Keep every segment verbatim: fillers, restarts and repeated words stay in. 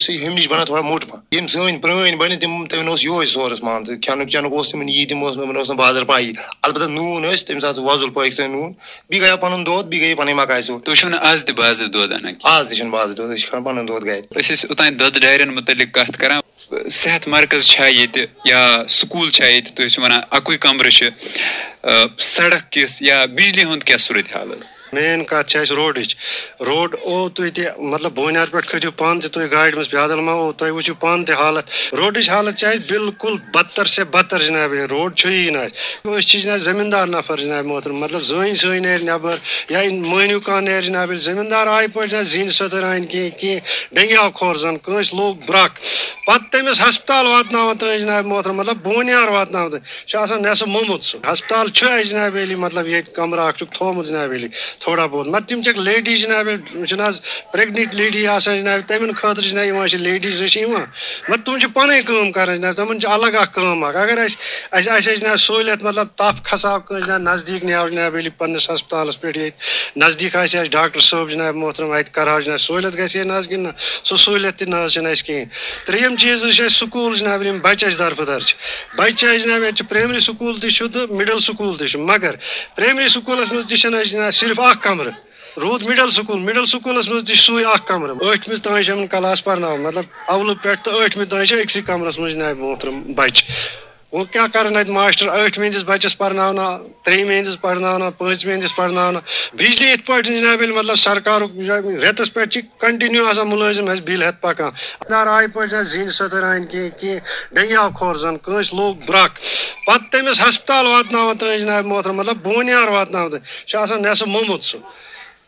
سُہ ہُمہِ نِش بَنان تھوڑا موٚٹ پَہَن۔ یِم سٲنۍ پرٛٲنۍ بَنہِ، تِم، تِمَن اوس یِہوٚے سورُس مان ژٕ، کھٮ۪نُک چٮ۪نُک اوس تِمَن یی، تِم اوس نہٕ، تِمَن اوس نہٕ بازر پَیی۔ البتہ نوٗن ٲسۍ، تَمہِ ساتہٕ وۄزُل پٲکِستٲنۍ نوٗن، بیٚیہِ گٔیو پَنُن دۄد، بیٚیہِ گٔیے پَنٕنۍ مَکاے ژوٚٹ۔ تُہۍ چھِو نہٕ آز تہِ بازرٕ دۄد اَنان کینٛہہ؟ آز تہِ چھِنہٕ بازرٕ دۄد، أسۍ چھِ کھٮ۪وان پَنُن دۄد گَرِ۔ أسۍ ٲسۍ اوٚتانۍ دۄدٕ ڈایرٮ۪ن مُتعلِق کَتھ کَران۔ صحت مرکز چھا ییٚتہِ یا سکوٗل چھا ییٚتہِ؟ تُہۍ ٲسِو وَنان اَکُے کَمرٕ چھِ، آ، سڑک کِژھ یا بجلی ہُنٛد کیٛاہ صورت حال حظ؟ مین کتھ چھِ اَسہِ روڈٕچ۔ روڈ او تُہۍ تہِ، مطلب، بونیار پٮ۪ٹھ کھٔتِو پانہٕ تہِ تُہۍ گاڑِ منٛز، پیدل ما او، تۄہہِ وٕچھِو پانہٕ تہِ حالت۔ روڈٕچ حالت چھِ اَسہِ بالکل بدتر سے بدتر، جناب۔ یہِ روڈ چھُیی نہٕ اَسہِ۔ أسۍ چھِ، جناب، زٔمیٖندار نفر، جناب محترم۔ مطلب، زٲنۍ سٲنۍ نیرِ نٮ۪بر یا مٲنِو کانٛہہ نیرِ، جناب۔ ییٚلہِ زٔمیٖندار آیہِ پٲٹھۍ، جناب، زِنۍ سٔتٕر اَنہِ کینٛہہ، کینٛہہ ڈنگی آو کھۄر زن، کٲنٛسہِ لوٚگ برکھ، پتہٕ تٔمِس ہسپتال واتناوان تام، جناب محترم، مطلب، بونیار واتناوان تام۔ چھُ آسان نٮ۪صٕف موٚمُت سُہ۔ ہسپتال چھُ اَسہِ جناب علی، مطلب، ییٚتہِ کمرٕ اکھ چھُکھ تھوٚومُت جناب علی، تھوڑا بہت۔ مطلب، تِم چھِکھ لیڈیٖز جناب علی، چھِنہٕ حظ پریگننٹ لیڈی آسان جناب، تِمن خٲطرٕ چھِ جناب یِوان، چھِ لیڈیٖز چھِ یِوان۔ مطلب، تِم چھِ پنٕنۍ کٲم کران جناب، تِمن چھِ الگ اکھ کٲم اکھ۔ اگر اَسہِ، اَسہِ آسہِ ہے جناب سہوٗلیت، مطلب، تپھ کھساو کٲنٛسہِ جناب نزدیٖک نیاو جناب علی پننِس ہسپتالس پٮ۪ٹھ، ییٚتہِ نزدیٖک آسہِ اَسہِ ڈاکٹر صٲب جناب محترم، اَتہِ کرہاو جناب سہوٗلیت گژھِ ہے نہ حظ کِنہٕ نہ؟ سُہ سہوٗلیت تہِ نہ حظ چھِنہٕ اَسہِ کِہیٖنۍ۔ ترٛیٚیِم چیٖز حظ چھِ اَسہِ سکوٗل جناب علی، یِم بچہٕ اَسہِ دربٕدر چھِ۔ بچہِ چھِ اَسہِ جناب، ییٚتہِ چھُ پرٛایمری سکوٗل تہِ چھُ تہٕ مڈل سکوٗل تہِ چھُ، مگر پرٛایمری سکوٗلَس منٛز تہِ چھِنہٕ اَسہِ جناب صرف اَکھ کَمرٕ۔ روٗد مڈل سکوٗل، مڈل سکوٗلَس منٛز تہِ چھُ سُے اَکھ کَمرٕ۔ ٲٹھمہِ تام چھِ یِمَن کلاس پَرناوان، مطلب، اَولہٕ پٮ۪ٹھ تہٕ ٲٹھمہِ تام چھِ أکسٕے کَمرَس منٛز جناب محترم بَچہِ۔ وۄنۍ کیٛاہ کَرَن اَتہِ ماسٹر؟ ٲٹھمہِ ہِنٛدِس بَچَس پَرناونا، ترٛیٚیِمہِ ہِنٛدِس پَرناونا، پٲنٛژمہِ ہِنٛدِس پَرناونا۔ بجلی یِتھ پٲٹھۍ جناب علی، مطلب، سرکارُک رٮ۪تَس پٮ۪ٹھ چھِ کنٹینیو آسان مُلٲزِم اَسہِ بِل ہٮ۪تھ پَکان۔ دار آیہِ پٲٹھۍ جناب زِنۍ سٔتٕر اَنہِ کینٛہہ، کینٛہہ ڈنگی آو کھۄر زَن، کٲنٛسہِ لوٚگ برکھ، پَتہٕ تٔمِس ہسپتال واتناوان تام جناب محترم، مطلب، بونیار واتناوان تام۔ چھُ آسان نٮ۪صٕف موٚمُت سُہ۔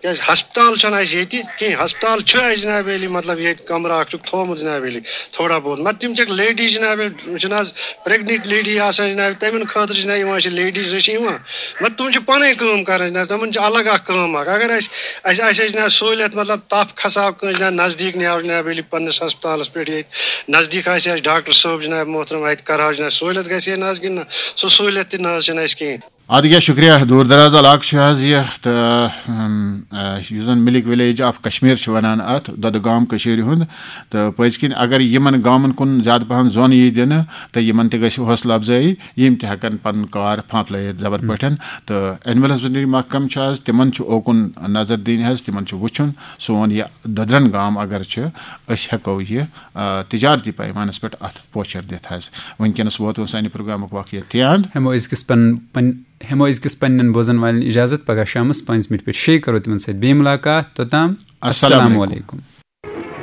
کیٛازِ ہسپتال چھُنہٕ اَسہِ ییٚتہِ کینٛہہ۔ ہسپتال چھُ اَسہِ جناب علی، مطلب، ییٚتہِ کمرٕ اکھ چھُکھ تھوٚومُت جناب علی، تھوڑا بہت۔ مطلب، تِم چھِکھ لیڈیٖز جناب علی، چھِنہٕ حظ پریگننٹ لیڈی آسان جناب، تِمن خٲطرٕ چھِ جناب یِوان، چھِ لیڈیٖز چھِ یِوان۔ مطلب، تِم چھِ پنٕنۍ کٲم کران جناب، تِمن چھِ الگ اکھ کٲم اکھ۔ اگر اَسہِ، اَسہِ آسہِ ہے جناب سہوٗلیت، مطلب، تپھ کھساو کٲنٛسہِ جناب نزدیٖک نیاو جناب علی پننِس ہسپتالس پٮ۪ٹھ، ییٚتہِ نزدیٖک آسہِ اَسہِ ڈاکٹر صٲب جناب محترم، اَتہِ کرہاو جناب سہوٗلیت گژھِ ہے نہ حظ کِنہٕ نہ؟ سُہ سہوٗلیت تہِ نہ حظ چھِنہٕ اَسہِ کِہیٖنۍ۔ اَدٕ کیٛاہ، شُکریہ۔ دوٗر دراز علاقہٕ چھُ حظ یہِ، تہٕ، اَم، آ، یُس زَن مِلِک وِلیج آف کشمیر چھِ وَنان اَتھ، دۄدٕ گام کٔشیٖرِ ہُنٛد۔ تہٕ پٔزۍ کِنۍ اگر یِمَن گامَن کُن زیادٕ پَہَن زوٚن یی دِنہٕ، تہٕ یِمَن تہِ گژھِ حوصلہٕ اَفزٲیی، یِم تہِ ہٮ۪کَن پَنُن کار پھانٛپلٲیِتھ زَبر پٲٹھۍ۔ تہٕ اینولَس ویٹرنری محکمہٕ چھُ حظ، تِمَن چھُ اوکُن نظر دِنۍ حظ، تِمَن چھُ وٕچھُن سون یہِ دۄدرَن گام اگر چھُ، أسۍ ہٮ۪کو یہِ، آ، تجارتی پیمانَس پٮ۪ٹھ اَتھ پوچھر دِتھ حظ۔ وٕنکیٚنَس ووت وۄنۍ سانہِ پروگرامُک وقت ییٚتہِ تہِ اَنٛد۔ ہٮ۪مو أزکِس پن-، پن-، ہٮ۪مو أزکِس پننٮ۪ن بوزن والٮ۪ن اجازت۔ پگاہ شامس پانٛژِ مِنٹہِ پٮ۪ٹھ شیٚیہِ کرو تِمن سۭتۍ بیٚیہِ مُلاقات۔ توٚتام السلام السلام علیکم۔ علیکم۔